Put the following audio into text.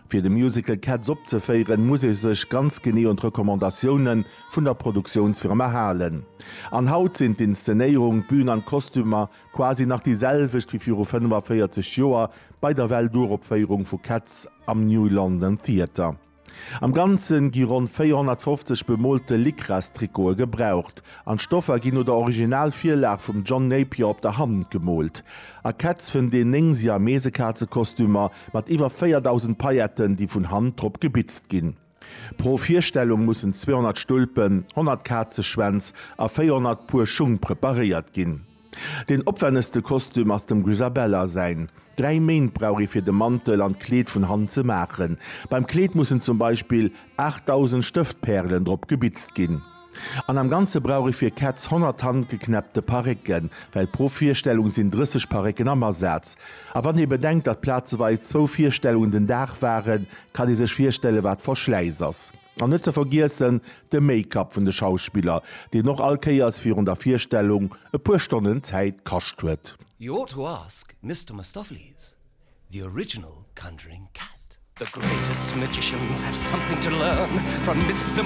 Fir de Musical Cats opzeféieren, muss ee sech ganz genee un d'Recommandatioune vun der Produktiounsfirma halen. An haut sinn d'Inszenéierung, d'Bün an d'Kostümer quasi nach déi selwecht wéi viru 45 Joer bei der Welturopféierung vu Cats am New London Theatre. Am Ganze gi ronn 450 bemoolte Lycrastrikote gebraucht, an d'Stoffer ginn no der Originalvirlag vum John Napier op der Hand gemoolt. A Cats fënnt een 9 Siamesekazekostümer mat iwwer 4.000 Pailletten, déi vun Hand drop gebitzt ginn. Pro Virstellung mussen 200 Stulpen, 100 Kazeschwänz a 400 Puer Schung preparéiert ginn. Deen opwennegste Kostüm ass dem Grisabella säin. 3 Méint brauch ee fir de Mantel an d'Kleed vun Hand ze maachen. Beim Kleed mussen zum Beispill 8.000 Stëftpärelen drop gebitzt ginn. An am Ganze brauch ee fir Cats 100 handgeknäppte Parécken, well pro Virstellung sinn 30 Parécken am Asaz. A wann ee bedenkt, datt plazeweis zwou Virstellungen den Dag waren, kann ee sech virstelle wat Verschläiss ass. An net ze vergiessen de Make-up vun de Schauspiller, deen och all Kéiers virun der Virstellung e puer Stonnen Zäit kascht huet. You ought to ask Mister Mistoffelees, the original conjuring cat. The greatest magicians have something to learn from Mister.